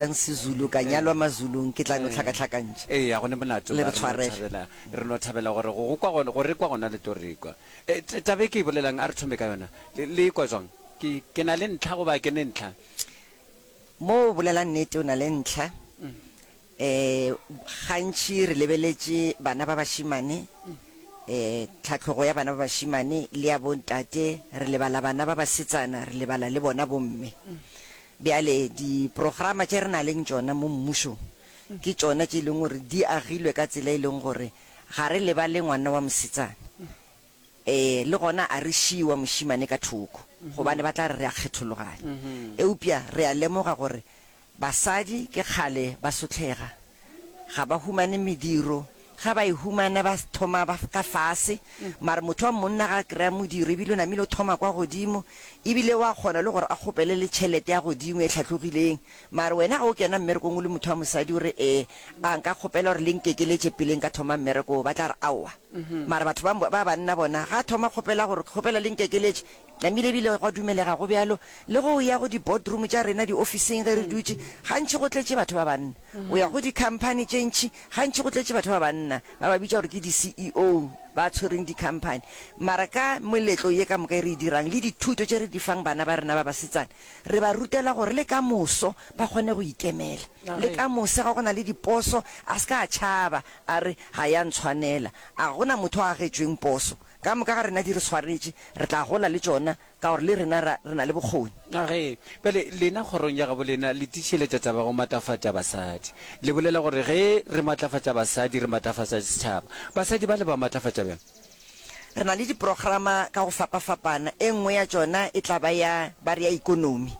Sezulu, ka nyalwa Mazulung, ke tla no hlakahlakantšha. Ee, ga go ne molato. Le Re re no tshwarele. thabela, re no thabela gore go go kwa gona, go re kwa gona le tlo re kwa. E, t- taba e ke e bolelang, a re thome ka yona. Le, le e kwa jwang? Ke, ke na le ntlha goba ke ne ntlha? Mo o bolela nnete, o na le ntlha. Um gantši re lebeletše bana ba bašemane, um tlhahlogo ya bana ba bašemane le ya bontate, re lebala bana ba basetsana, re lebala le bona bomme. Bjale diprograma tše re na leng tšona mo mmušong ke tšona tše e leng gore di agilwe ka tsela e leng gore ga re lebale ngwana wa mosetsana, ee, le gona a re šie wa mošemane ka thoko gobane ba tla re re a kgethologanya. Eupša re a lemoga gore Basadi ke kgale ba sohlega, ga ba humane mediro, ge ba e humana ba thoma ba ka fase, mara motho wa monna ga a kry-a modiro ebile o namile o thoma kwa godimo, ebile wa kgona le gore a kgopele le tšhelete ya godimo e hlatlogileng, mara wena ga o kena mmerekong o le motho wa mosadi o re ee a nka kgopela gore le nkekeletše pele nka thoma mmereko wo, ba tla re aowa, mara batho ba ba banna bona ga a thoma kgopela gore kgopela le nkekeletše Namile ebile gwa dumelega go bjalo le ge o ya go di-boardroom tša rena diofising ge re dutše, gantši go tletše batho ba banna. O ya go di-company tše ntši, gantši go tletše batho ba banna, ba ba bitša gore ke di-CEO ba tshwereng di-company. Mara ka meletlo ye ka moka e re e dirang le dithuto tše re di fang bana ba rena ba basetsana, re ba rutela gore le ka moso ba kgone go ikemela. Le ka mose ga go na le diposo a se ka a tšhaba a re ga ya ntshwanela. A go na motho a agetšweng poso. Ka moka ga rena di re swaretše, re tla gola le tšona, ka gore le rena ra, re na le bokgoni. A ge, bjale, lena kgorong ya gabo lena le tiišeletša taba ya go matlafatša basadi. Le bolela gore ge re matlafatša basadi, re matlafatša setšhaba. Basadi ba le ba matlafatša bjang? Re na le diprograma ka go fapafapana. E nngwe ya tšona e tla ba ya, ba re ya ikonomi,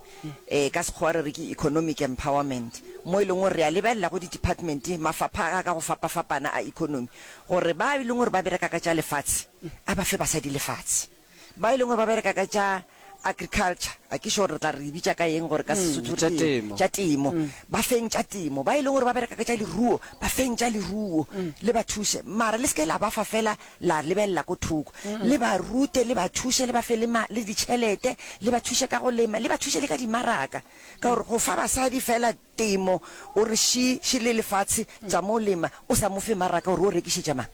e, ka Sekgowa re re ke economic empowerment, mo e leng gore re a lebelela go di-department, mafapha a ka go fapafapana a economy, Gore ba e leng gore ba bereka ka tša lefatshe, a ba fe basadi lefatshe. Ba e leng gore ba bereka ka tša agriculture, a ke sure re tla re e bitša ka eng gore ka Sesotho Tša re ke temo. Tša temo. Ba feng tša temo. Ba e leng gore ba bereka ka tša leruo, ba feng tša leruo. Le ba thuše. Mara le se ke la ba fa fela la lebelela ko thoko. Le ba rute, le ba thuše, le ba fe le ma, le ditšhelete, le ba thuše ka go lema, le ba thuše le ka dimaraka. Ka gore go fa basadi fela Temo, o re ši, ši le lefatshe tša mo lema, o sa mo fe maraka gore o rekišetša mang?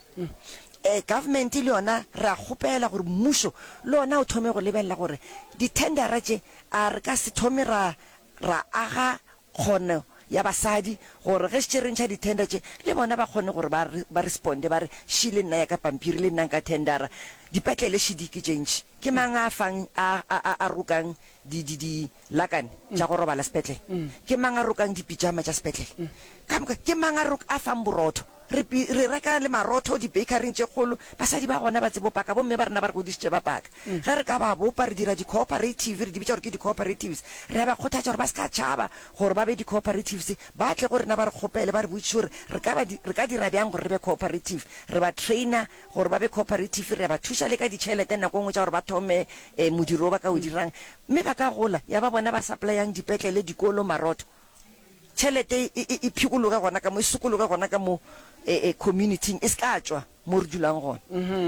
Eh, government le yona re a kgopela gore mmušo le ona o thome go lebelela gore di-tendera tše a re ka se thome ra, ra aga kgono ya basadi gore ge šetše re ntšha di-tender tše le bona ba kgone gore ba, ba responde ba re ši le nna ya ka pampiri le nna nka tendera. Dipetlele ši di ke tše ntši, ke mang a fang, a, a, a, a rokang di, di, di lakane tša go robala sepetlele? Ke mang a rokang dipitšama tša sepetlele? Ka moka, ke mang a rok, a fang borotho? Re, re reka le marotho di-bakery-ing tše kgolo. Basadi ba gona ba tsebo paka, bomme ba rena ba re godišitše ba paka. Ge re ka ba bopa, re dira di-cooperative, re di bitša gore ke di-cooperatives, re a ba kgothatša gore ba se ka tšhaba gore ba be di-cooperatives, ba tle go rena ba re kgopele, ba re botšiše gore re ka ba, re ka dira bjang gore re be cooperative. Re ba trainer gore ba be cooperative, re a ba thuša le ka ditšhelete nako e nngwe tša gore ba thome modiro wo ba ka o dirang, mme ba ka gola ya ba bona ba supplyang dipetlele, dikolo, marotho. Tšhelete e, e, e phikologe gona ka mo, e sokologe gona ka mo e, e, community-ing, e se ka tšwa mo re dulang gona.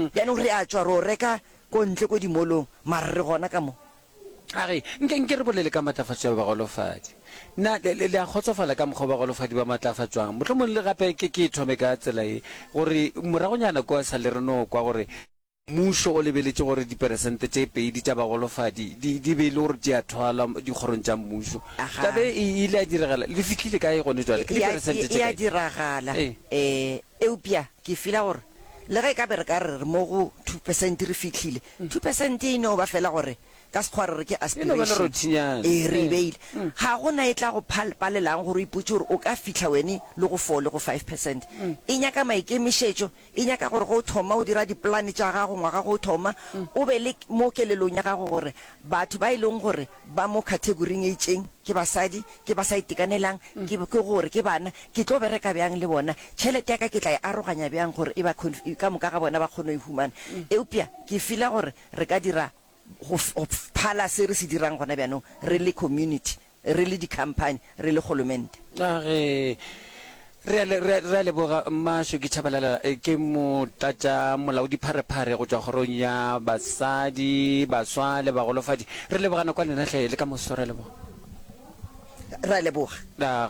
Bjanong re a tšwa re o reka ko ntle ko di-mall-ong, mara re gona ka mo. A re, Nke, nke re bolele ka matlafatšo ya bagolofadi. Na le, le, le a kgotsofala ka mokgwa bagolofadi ba matlafatšwang? Mohlomong le gape ke, ke e thome ka tsela ye, gore moragonyana kua sa le re no kwa gore mmušo o lebeletše gore diperesente tše pedi tša bagolofadi di, di be e le gore di a thwalwa dikgorong tša mmušo. Aga. Taba e e ile ya diragala, le fihlile kae gone jwale? Ke E a, diperesente e, tše e a kae? diragala. Ee. Eh, eupša ke feel-a gore le ge e ka be re ka re re mo go 2% re fihlile, 2% e no ba fela gore ka Sekgowa re re ke E no ba aspiration. lerothinyana. Ee, re e Ee. beile. Ga go na e tla go phal, palelang gore o ipotše gore o ka fihla wene le go four le go 5%. E nyaka maikemišetšo, e nyaka gore ge o thoma o dira dipolane tša gago ngwaga ge o thoma, o be le mo kelelong ya gago gore batho ba e leng gore ba mo category-ing e itšeng ke basadi, ke ba sa itekanelang, ke, ke gore ke bana, ke tlo bereka bjang le bona, tšhelete ya ka ke tla e aroganya bjang gore e ba conf, ka moka ga bona ba kgone go e humana. Eupša ke feela gore re ka dira go, go phala se re se dirang gona bjanong re le community, re le di-company, re le kgolomente. A ge re a le, re a, re a leboga Mma Shoki Tshabalala, ke motlatša molaodipharephare go tšwa kgorong ya basadi, baswa le bagolofadi. Re leboga nako ya lena hle, le ka moso re a leboga. Re a leboga. Aga.